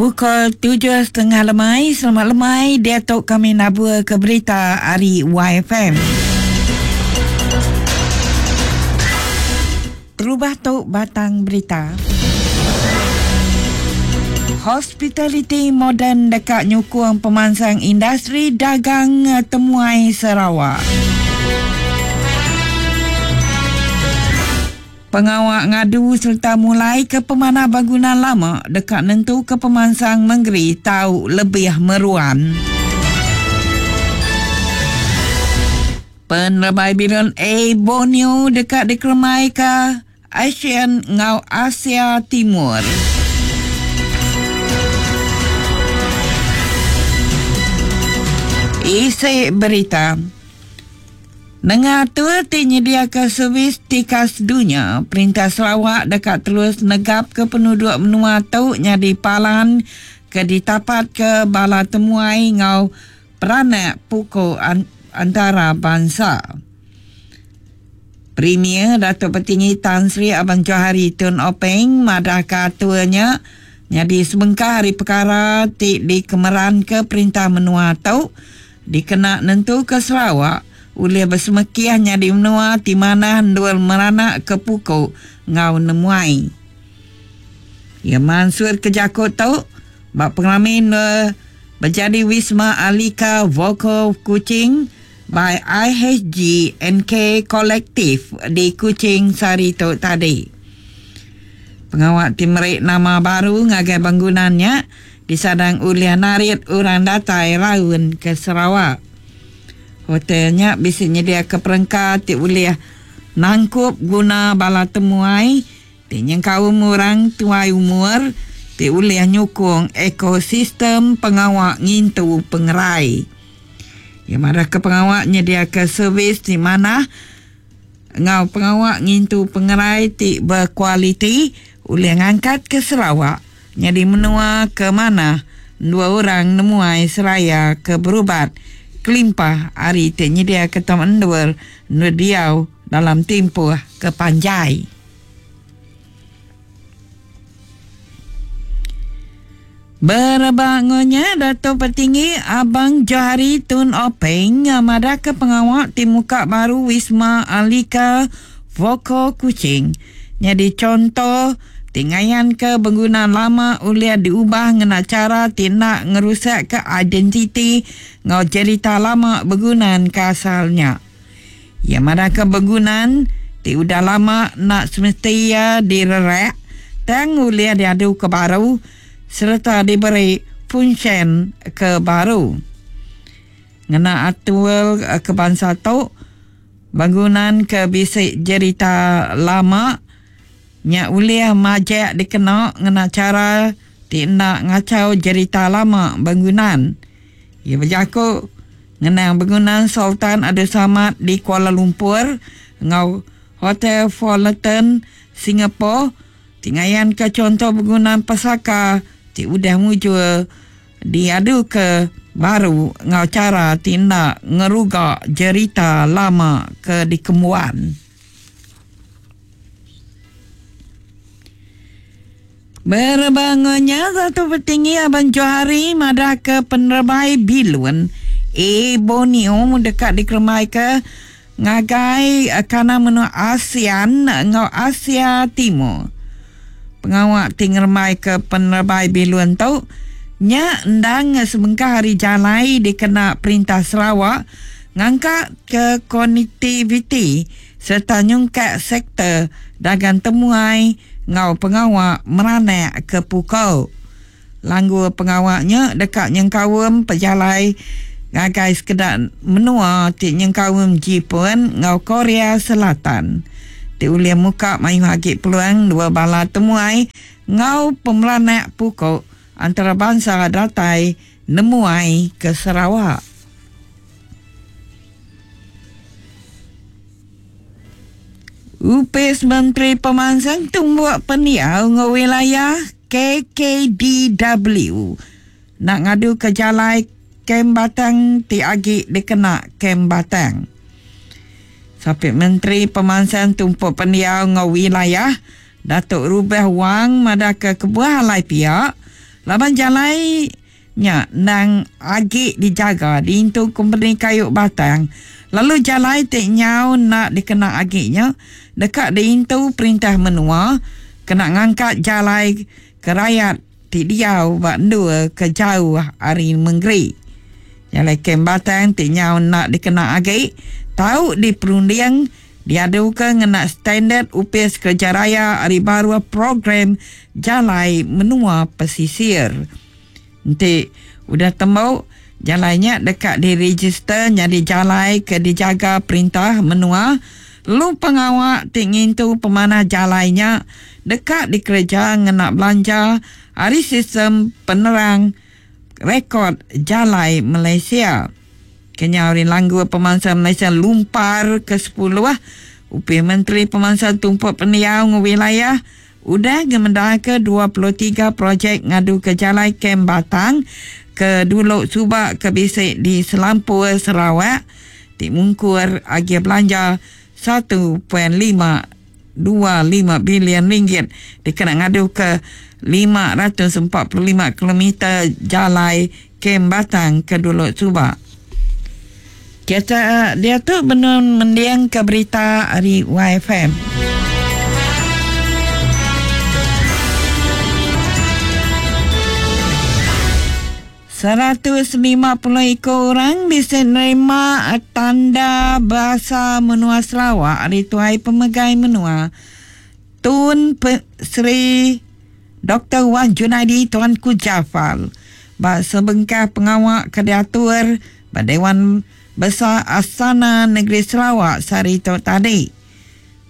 Pukul 7.30 lemai, selamat lemai, diatu kami nabur ke berita ari YFM. Terubah tu batang berita. Hospitality moden deka nyukung pemansang industri dagang temuai Sarawak. Pengawa ngadu sereta mulaika pemanah bangunan lama deka nentuka pemansang mengeri tau lebih meruan. Penerebai bilun Air Borneo deka dikerembaika ASEAN enggau Asia Timur. Isi berita. Nengah atur ti nyediaka servis tikas dunya, Perintah Sarawak deka terus negapka penuduk menua tu nyadi palan ke ditapatka bala temuai enggau peranak puku antarabansa. Premier Datuk Patinggi Tan Sri Abang Johari Tun Openg madahka atur nya nyadi sebengkah ari pekara ti dikemeranka perintah menua tu Dikena nentuka Sarawak ulih besemekih nyadi menua ti manah endur meranakka puku enggau nemuai. Iya mansutka jaku tu ba pengerami endur bejadi Wisma Alika Vocal Kuching by IHG NK Collective di Kuching sehari tu tadi. Pengawa ti meri nama baru ngagai bangunan nya Disadang ulih narit orang datai raun ke Sarawak. Hotel nya bisi nyediaka perengka ti ulih nangkup guna bala temuai ti nyengkaum orang tuai umur ti ulih nyukung ekosistem pengawa ngintu pengerai. Iya madahka pengawa nyediaka servis ti manah enggau pengawa ngintu pengerai ti bekualiti ulih ngangkatka Sarawak nyadi menua ke manah endur orang nemuai seraya ke berubat kelimpah ari ti nyediaka tem endur endur diau dalam timpuh ke panjai. Berebak enggau nya, Datuk Patinggi Abang Johari Tun Openg madahka pengawa ti muka baru Wisma Alika Voko Kuching nyadi chonto ti ngayanka bengguna lama ulih diubah ngena chara ti enda ngerusakka identiti enggau jerita lama begunan ke asal nya. Iya madahka begunan ti udah lama enda semesti iya direrak tang ulih diaduka baru sereta diberi fungsyen ke baru. Ngena atur ke bansa tu, bangunan ke bisi jerita lama nya ulih majak dikena ngena chara ti enda ngachau jerita lama bangunan. Iya bejaku ngenang bengunan Sultan Abdul Samad di Kuala Lumpur enggau Hotel Fullerton Singapore ti ngayanka chunto bengunan pesaka ti udah mujur diaduka baru enggau chara ti enda ngeruga jerita lama ke dikembuan. Berebangunya satu petinggi Abang Johari madahka penerebai bilun Air Borneo deka dikerembaika ngagai kandang menua ASEAN enggau Asia Timur. Pengawa ti ngerembaika penerebai bilun tu nya endang sebengkah ari jalai dikena Perintah Sarawak ngangkatka konektiviti sereta nyungkak sektor dagang temuai enggau pengawa meranak ke pukul. Langgur pengawa nya deka nyengkaum pejalai ngagai sekeda menua ti nyengkaum Jipun enggau Korea Selatan ti ulih muka mayuh agi peluang dua bala temuai enggau pemeranak puku antarabansa datai nemuai ke Sarawak. Opis Menteri Pemansang Tumbuk Pendiau enggau Wilayah, KKDW, enda ngaduka jalai Kem Batang ti agi dikena Kem Batang. Sapit Menteri Pemansang Tumpuk Pendiau enggau Wilayah, Datuk Rubah Wang madahka kebuah alai pia. Laban jalai nya endang agi dijaga diintu kompeni kayu batang lalu jalai ti nyau enda dikena agi nya deka diintu perintah menua kena ngangkat jalai ke rayat ti diau ba endur ke jauh ari mengeri. Jalai kem batang ti nyau enda dikena agi tau diperunding diaduka ngena standard Opis Kereja Raya ari baruh program Jalai Menua Pesisir. Enti udah tembu, jalai nya deka direjister nyadi jalai ke dijaga perintah menua lalu pengawa ti ngintu pemanah jalai nya deka dikereja ngena belanja ari sistem penerang rekod Jalai Malaysia. Kenyau ari langgur pemansang Malaysia Lumpar ke sepuluh, Opis Menteri Pemansang Tumpuk Pendiau enggau Wilayah udah ngemendarka 23 projek ngaduka jalai kem batang ke dulu suba ke bisi di selampur Sarawak ti mungkur agih belanja 1.525 bilion ringgit dikena ngaduka 545 kilometer jalai kem batang ke dulu suba. Kita diatu benung mendingka berita ari YFM. 150 iku orang bisi nerima tanda basa menua Sarawak ari Tuai Pemegai Menua Tun Sri Doktor Wan Junaidi Tuanku Jaafar ba sebengkah pengawa ke diatur ba Dewan Besar Astana Negeri Sarawak sehari tu tadi.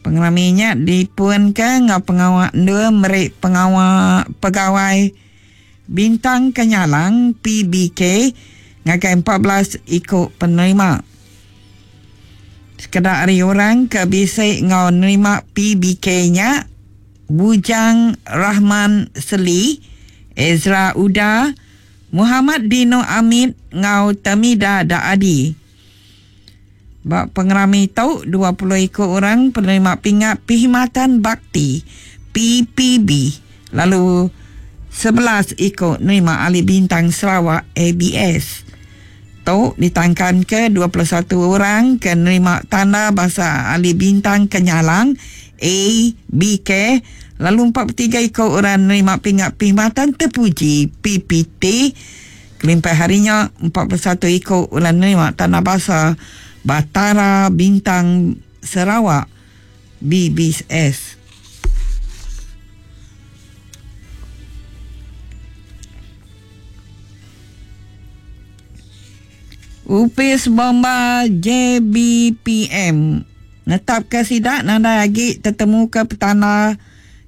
Pengerami nya dipunka enggau pengawa endur meri pengawa pegawai Bintang Kenyalang, PBK, ngagai 14 iku penerima. Sekeda ari orang ke bisi enggau nerima PBK nya Bujang Rahman Seli, Ezra Uda, Muhammad Dino Amit enggau Tamida Daadi. Ba pengerami tu, 20 iku orang penerima Pingat Perkhidmatan Bakti, PPB, lalu 11 iku nerima Ahli Bintang Sarawak, ABS. Tu ditangkanka 21 orang ke nerima Tanda Basa Ahli Bintang Kenyalang, ABK, lalu 43 iku orang nerima Pingat Perkhidmatan Terpuji, PPT, Kelimpah hari nya, 41 iku ulah nerima Tanda Basa Batara Bintang Sarawak, BBS. Opis Bomba JBPM netapka sida nadai agi tetemuka petanda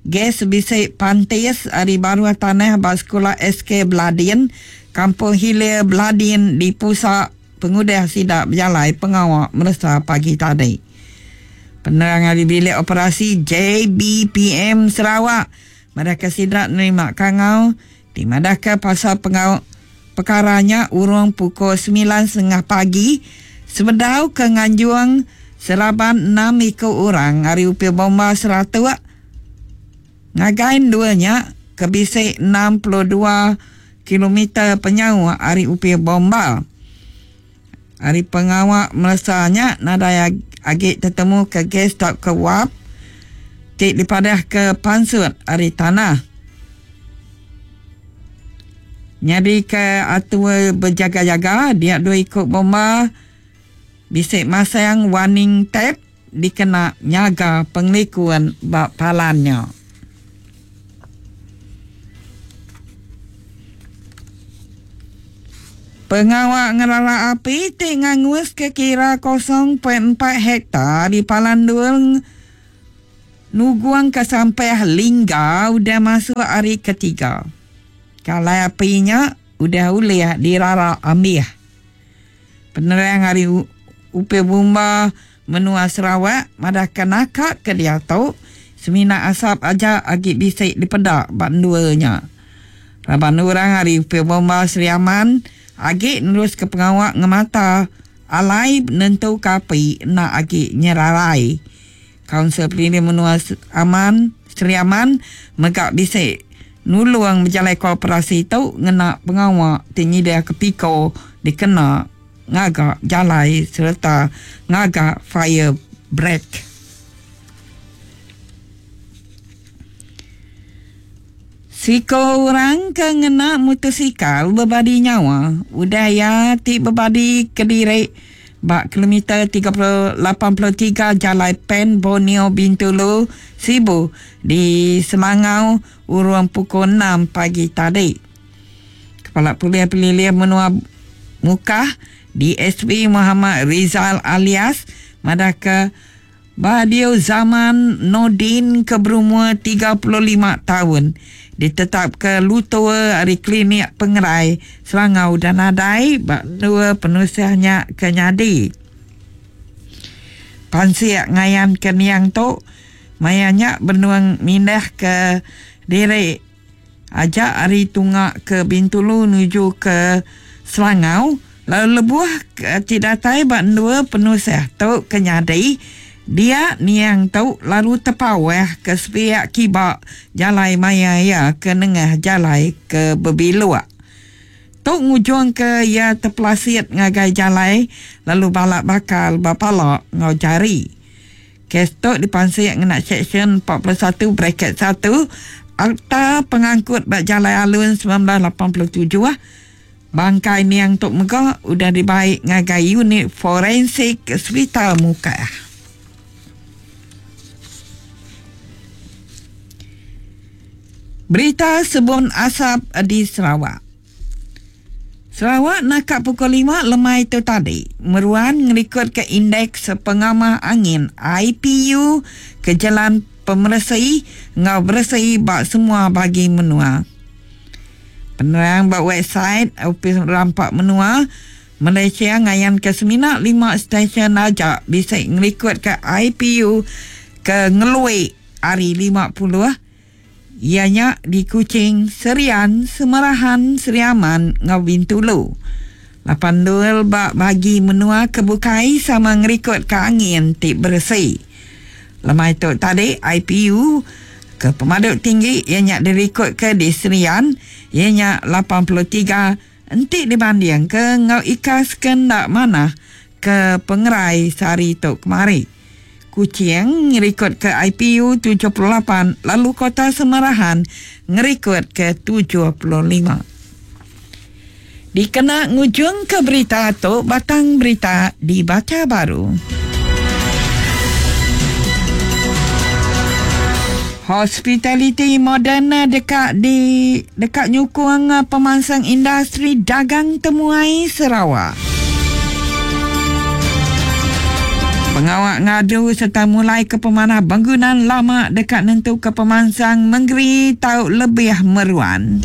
Gas bisi pantis ari baruh tanah ba Sekula SK Beladin, Kampung Hilir Beladin di Pusa pengudah sida bejalai pengawa meresa pagi tadi. Penerang ari Bilik Operasi JBPM Sarawak madahka sida nerima kangau ti madahka pasal pengawa pekara nya urung pukul semilan setengah pagi sebedau ke nganjung seraban enam iku orang ari Opis Bomba Seratok ngagai endur nya ke bisi 62 kilometer penyauh ari Opis Bomba. Ari pengawa meresa nya nadai agi tetemuka gas tauka wap ti dipadahka pansut ari tanah. Nyadika atur bejaga-jaga dia dua iku bomba bisi masang warning tape dikena nyaga pengelikun ba palan nya. Pengawa ngerara api ti nganguska kira 0.4 hektar di palan endur nugungka sampah Lingga udah masuk hari ketiga. Kalai api nya udah ulih dirara ambih. Penerang ari Opis Bomba Menua Sarawak madahka naka ke diatu semina asap aja agi bisi dipeda ba endur nya. Raban orang ari Opis Bomba Sri Aman agi neruska pengawa ngemata alai nentuka api enda agi nyerarai. Kaunsil Pelilih Menua Aman, Sri Aman mega bisi. nulung bejalaika operasi tu ngena pengawa ti nyediaka piko dikena ngaga jalai sereta ngaga fire break. Siku orang ke ngena mutosikal bebadi nyawa udah iya ti bebadi kediri ba kilometer 83 Jalai Pan Borneo Bintulu, Sibu di Selangau urung pukul enam pagi tadi. Kepala Polis Pelilih Menua Mukah, DSP Muhammad Rizal Alias madahka Badiu Zaman Nordin ke berumur 35 taun ditetapka lutur ari Klinik Pengerai Selangau udah nadai ba endur penusah nya ke nyadi. Pansik ngayanka niang tu maya nya benung mindahka diri aja ari tunga ke Bintulu nuju ke Selangau lalu lebuh ti datai ba endur penusah tu ke nyadi dia niang tu lalu tepawah ke sepiak kiba jalai maya iya ke nengah jalai ke bebiluk. Tu ngujungka iya tepelasit ngagai jalai lalu bala bakal ba pala enggau jari. Kes tu dipansik ngena Seksyen 41 braket satu Akta Pengangkut ba Jalai Alun 1987. Bangkai niang tu mega udah dibai ngagai Unit Forensik Sepital Mukah. Berita sebun asap di Sarawak. Sarawak naka pukul lima lemai tu tadi meruan ngerikodka Indeks Pengamah Angin, IPU, ke jelan pemeresi enggau beresi ba semua bagi menua. Penerang ba website Opis Rampa Menua Malaysia ngayanka semina lima stesyen aja bisi ngerikodka IPU ke ngelui ari 50 iya nya di Kuching, Serian, Semerahan, Sri Aman enggau Bintulu. Lapan endur ba bagi menua ke bukai sama ngerikodka angin ti beresi. Lemai tu tadi IPU ke pemadu tinggi iya nya dirikodka di Serian iya nya 83 enti dibandingka enggau ikas ke enda manah ke pengerai sehari tu kemari. Kuching ngerikodka IPU 78 lalu Kota Semarahan ngerikodka 75. Dikena ngujungka berita tu batang berita dibacha baru. Hospitaliti moden deka di deka nyukung pemansang industri dagang temuai Sarawak. Pengawa ngadu sereta mulaika pemanah bangunan lama deka nentuka pemansang mengeri tau lebih meruan.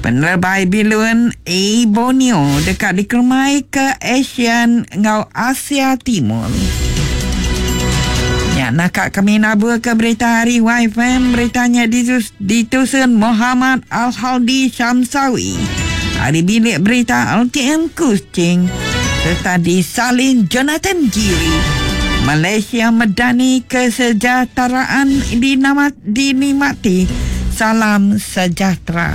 Penerebai bilun Air Borneo deka dikeremai ke ASEAN enggau Asia Timur. Nya naka kami naburka berita ari YFM berita nya ditusun Mohamad Al-Haldi Shamsawi ari bilik berita LTM Kuching sereta disalin Jonathan Giri. Malaysia medani kesejahteraan dinikmati. Salam sejahtera.